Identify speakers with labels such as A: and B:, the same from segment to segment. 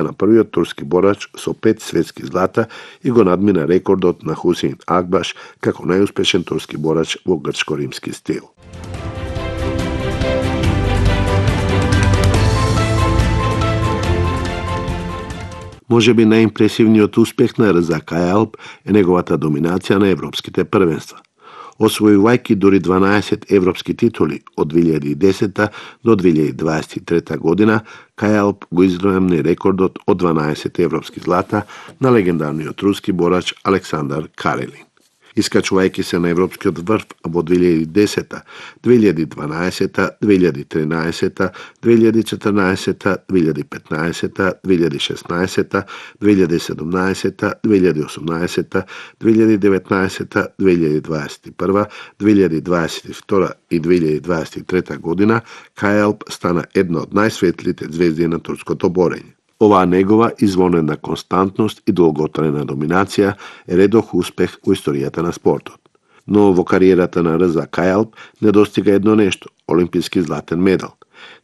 A: на првиот турски борач со 5 светски злата и го надмина рекордот на Хусейн Акбаш како најуспешен турски борач во грчко-римски стил. Можеби најимпресивниот успех на Рза Кајалп е неговата доминација на европските првенства. Освојувајќи дури 12 европски титули од 2010 до 2023 година, Кајалп го изравни рекордот од 12 европски злата на легендарниот руски борач Александар Карелин. Искачувајќи се на европскиот врв во 2010, 2012, 2013, 2014, 2015, 2016, 2017, 2018, 2019, 2021, 2022 и 2023 година, Кајалп стана една од најсветлите звезди на турското борење. Оваа негова извонена константност и долготрajна доминација е редок успех во историјата на спортот. Но во кариерата на Рза Кајалп недостига едно нешто – олимписки златен медал.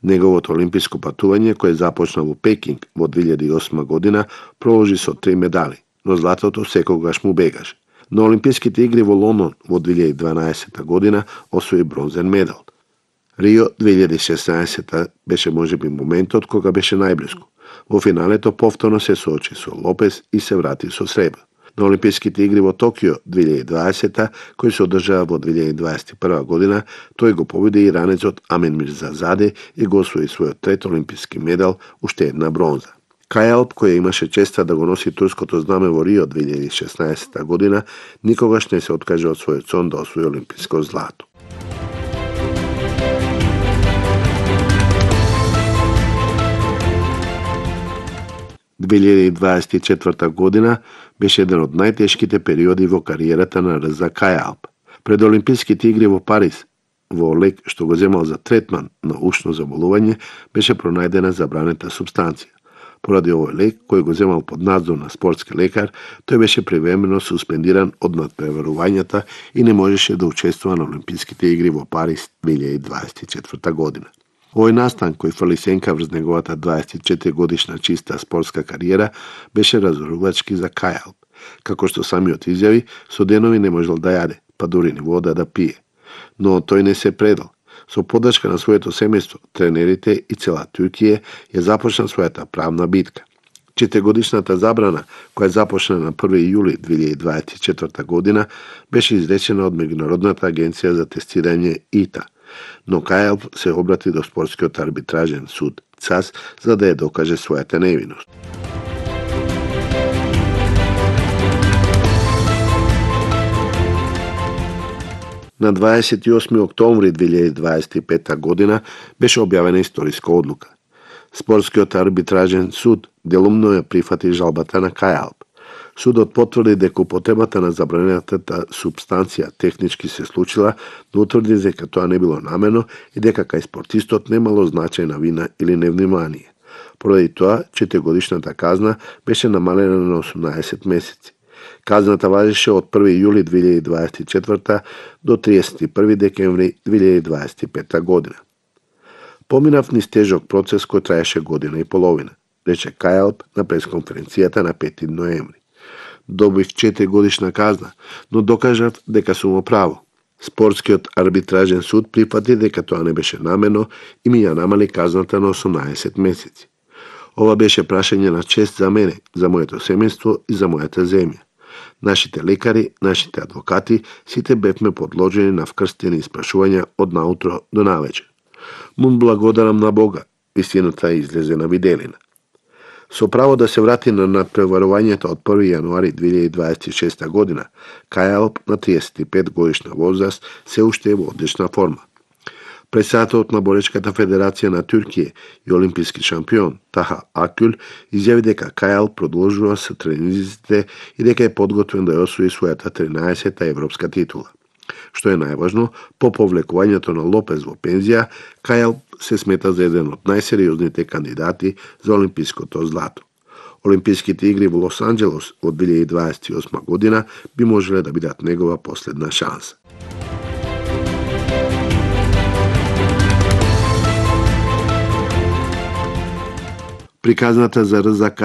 A: Неговото олимписко патување, кое започна во Пекинг во 2008 година, проложи со 3 медали, но златото секогаш му бегаше. На Олимписките игри во Лондон во 2012 година освои бронзен медал. Рио 2016 беше можеби моментот кога беше најблиску. Во финалето повторно се соочи со Лопес и се врати со сребро. На Олимписките игри во Токио 2020, кои се одржаа во 2021 година, тој го победи иранецот Амин Мирзазаде и го освои својот трет олимписки медал, уште една бронза. Кајалп, кој имаше честа да го носи турското знаме во Рио 2016 година, никогаш не се откаже од својот сон да освои олимписко злато. – 2024 година беше еден од најтешките периоди во кариерата на Рза Кајалп. Пред Олимписките игри во Париз, во лек што го земал за третман на ушно заболување, беше пронајдена забранета супстанција. Поради овој лек, кој го земал под надзор на спортски лекар, тој беше привремено суспендиран од надпреварувањата и не можеше да учествува на Олимписките игри во Париз 2024 година. Овој настан, кој фрли сенка врз неговата 24 годишна чиста спортска кариера, беше разорувачки за Кајалп. Како што самиот изјави, со денови не можел да јаде, па дури ни вода да пие. Но тој не се предал. Со поддршка на своето семејство, тренерите и цела Туркија ја започна својата правна битка. 4-годишната забрана, која започна на 1 јули 2024 година, беше изречена од Меѓународната агенција за тестирање ИТА. Но Кајалп се обрати до спортскиот арбитражен суд ЦАС за да ја докаже својата невиност. На 28 октомври 2025 година беше објавена историска одлука. Спортскиот арбитражен суд делумно ја прифати жалбата на Кајалп. Судот потврди дека употребата на забранетата супстанција технички се случила, но утврди дека тоа не било намерно и дека кај спортистот немало значајна вина или невнимание. Поради тоа, 4-годишната казна беше намалена на 18 месеци. Казната важеше од 1 јули 2024 до 31 декември 2025 година. Поминав низ тежок процес кој траеше година и половина, рече Кајалп на пресконференцијата на 5 ноември. Добив 4-годишна казна, но докажав дека сум во право. Спортскиот арбитражен суд прифати дека тоа не беше намерно и ми ја намали казната на 18 месеци. Ова беше прашање на чест за мене, за моето семејство и за мојата земја. Нашите лекари, нашите адвокати, сите бевме подложени на вкрстени испрашувања од наутро до навечер. Му благодарам на Бога, истината излезе на виделина. Со право да се врати на надпреварувањето од 1 јануари 2026 година, Кајалп на 35 годишна возраст се уште е во одлична форма. Председателот на Боречката федерација на Туркија и олимписки шампион Таха Акюл изјави дека Кајалп продолжува со тренизите и дека е подготвен да ја освои својата 13-та европска титула. Што е најважно, по повлекувањето на Лопес во пензија, Кајалп се смета за еден од најсериозните кандидати за олимпиското злато. Олимписките игри во Лос Анџелес од 2028 година би можеле да бидат негова последна шанса. Приказната за Рза Кајалп